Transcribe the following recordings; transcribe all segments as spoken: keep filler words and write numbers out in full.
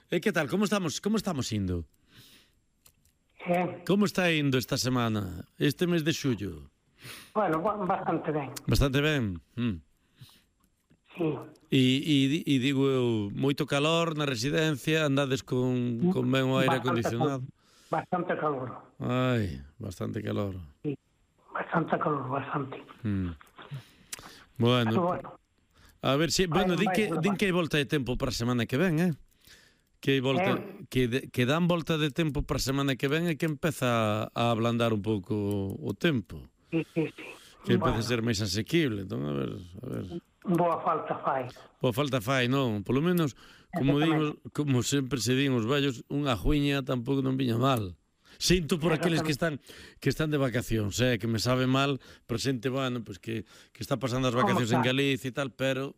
E que tal, como estamos, como estamos indo? Eh, Como está indo esta semana, este mes de xullo? bueno, ba- bastante ben. Bastante ben. Mm. Sí. E, e, e digo eu, moito calor na residencia, andades con, con ben o aire Bastante acondicionado. cal- Bastante calor. Ai, bastante calor. Sí. Bastante calor, bastante. Mm. Pero Bueno, bueno, a ver si, bueno, Vai- din vai que, levar. din que hai volta de tempo para a semana que ven, eh? Que hai volta, Eh. que, de, que dan volta de tempo para a semana que ven e que empeza a ablandar un pouco o tempo. sí, sí, sí. Que empeza Bueno, a ser máis asequible. Entón, a ver, a ver. boa falta fai. Boa falta fai, non? Polo menos, como digo, como sempre se din os vellos, unha juiña tampouco non viña mal. Sinto por aqueles que están que están de vacacións, eh, que me sabe mal, pero xente, bueno, pues que, que está pasando as vacacións en está? Galicia e tal, pero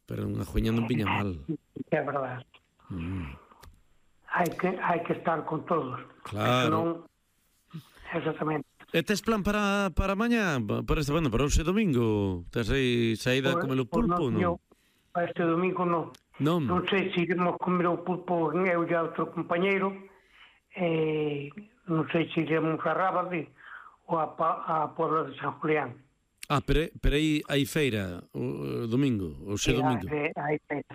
pero unha juiña non viña mal. É verdade. Mm. Hai que, hai que estar con todos. Claro. Senón, exactamente. E tes plan para, para mañá? Para este, bueno, para hoxe domingo? Tes aí saída a comer o pulpo, non? non? Para este domingo non. Non? Non sei se iremos comer o pulpo en eu e outro compañeiro. Eh, non sei se iremos a Rábade ou a, Pa- a Puebla de San Julián. Ah, pero, pero aí hai feira o, o domingo, o xe E domingo. hai- hai feira.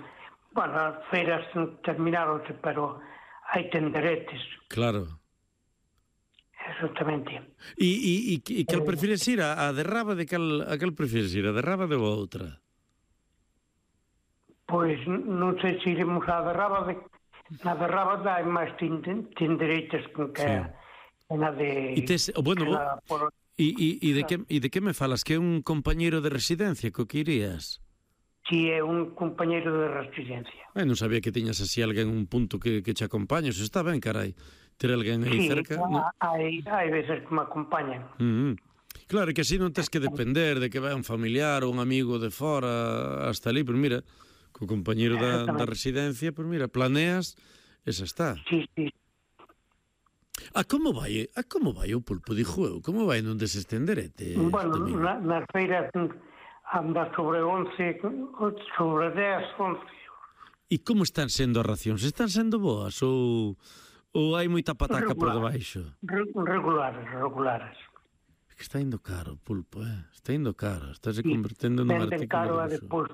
Bueno, as feiras terminaronse, pero hai tenderetes, Claro. exactamente. E, e, e, e cal prefires ir? A, a de Rábade, cal, a cal prefires ir? A de Rábade ou a outra? Pois non sei se iremos a de Rábade. Na de Rábade hai máis tenderetes que Sí. que na de... E tes, oh, bueno, que na- por- e, e, e, de que, e de que me falas? Que é un compañeiro de residencia co que irías? Si é un compañeiro de residencia. Eh, non sabía que tiñas así alguén, un punto que, que che acompaña. Eso está ben, carai. Ter alguén aí Sí, cerca. No? hai, hai veces que me acompañan. Mm -hmm. Claro, que así non tens que depender de que vai un familiar ou un amigo de fora hasta ali, pero mira, co compañeiro da, da residencia, pues mira, planeas, esa está. Sí, sí. A como vai, a como vai o pulpo, dixo eu? Como vai non desestenderete? Bueno, na, nas feiras anda sobre once, sobre dez, once. E como están sendo as racións? Están sendo boas ou, ou hai moita pataca por debaixo? Regulares, regulares. É que está indo caro o pulpo, eh? Está indo caro, está se convertendo nun artículo caro de e depois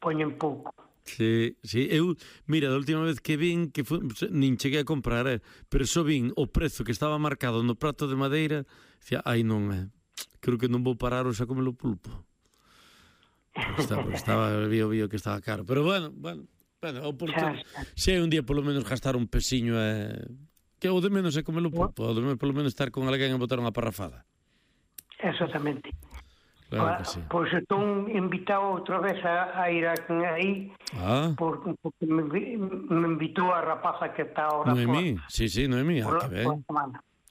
poñen pouco. Sí, sí, eu, mira, da última vez que vin, que fu, nin cheguei a comprar, eh, pero só vin o prezo que estaba marcado no prato de madeira, dicía, ai non, eh, creo que non vou parar hoxe a comer o pulpo. Porque estaba, porque estaba, vio, vio que estaba caro, pero bueno, bueno, bueno, oportuno, se hai un día polo menos gastar un pesiño, eh, que o de menos é comer o pulpo, o de menos polo menos estar con alguén e botar unha parrafada. Exactamente. Claro que sí. Pois estou invitado outra vez a, a ir aí, ah. por, porque me, me invitou a rapaza que está ahora Noemí, por, sí, sí, Noemí, ah, que ben.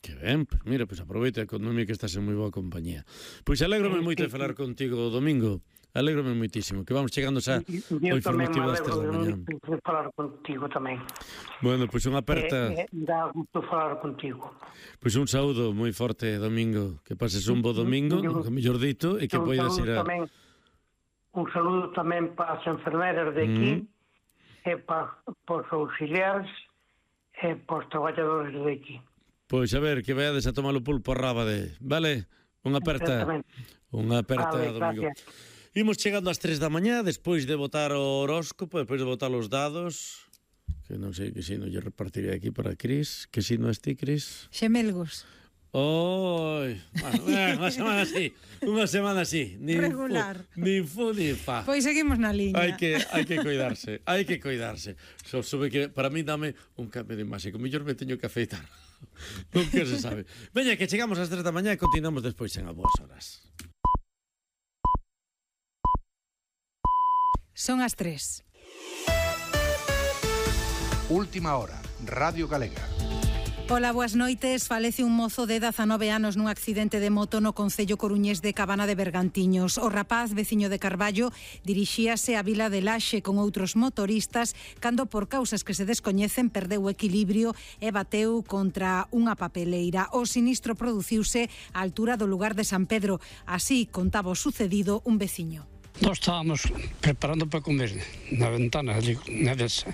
Que ben, pues mira, pues aproveita con Noemí que estás en moi boa compañía. Pois pues alégrome sí, moito sí, de falar sí. contigo o domingo, alégrome moitísimo, que vamos chegando xa o informativo das tres da mañá. Eu tamén falar contigo tamén. Bueno, pois pues unha aperta... Eh, eh, dá gusto falar contigo. Pois pues un saúdo moi forte, Domingo, que pases un bo domingo, que mellor dito, e que poidas ir a... Tamén, un saúdo tamén para as enfermeras de aquí, mm. e para, para os auxiliares, e para os traballadores de aquí. Pois a ver, que vayades a tomar o pulpo a Rábade, vale? Unha aperta, unha aperta, vale, Domingo. Gracias. Imos chegando ás tres da mañá, despois de votar o horóscopo, despois de votar os dados, que non sei que sino lle repartiré aquí para Cris. Que sino es ti, Cris? Xemelgos. Oi, bueno, eh, unha semana así, unha semana así. Ni regular. Fu, ni fu ni fa. Pois seguimos na liña. Hai que, hai que cuidarse, hai que cuidarse. So, sube que para mí dame un cambio de imaxe, que mellor me teño que afeitar. Non que se sabe. Veña, que chegamos ás tres da mañá e continuamos despois en a boas horas. Son as tres. Última hora, Radio Galega. Ola, boas noites. Falece un mozo de dezanove anos nun accidente de moto no concello coruñés de Cabana de Bergantiños. O rapaz, veciño de Carballo, dirixíase á vila de Laxe con outros motoristas cando, por causas que se descoñecen, perdeu o equilibrio e bateu contra unha papeleira. O sinistro produciuse á altura do lugar de San Pedro. Así contaba o sucedido un veciño. Nós estábamos preparando para comer na ventana ali, na desa.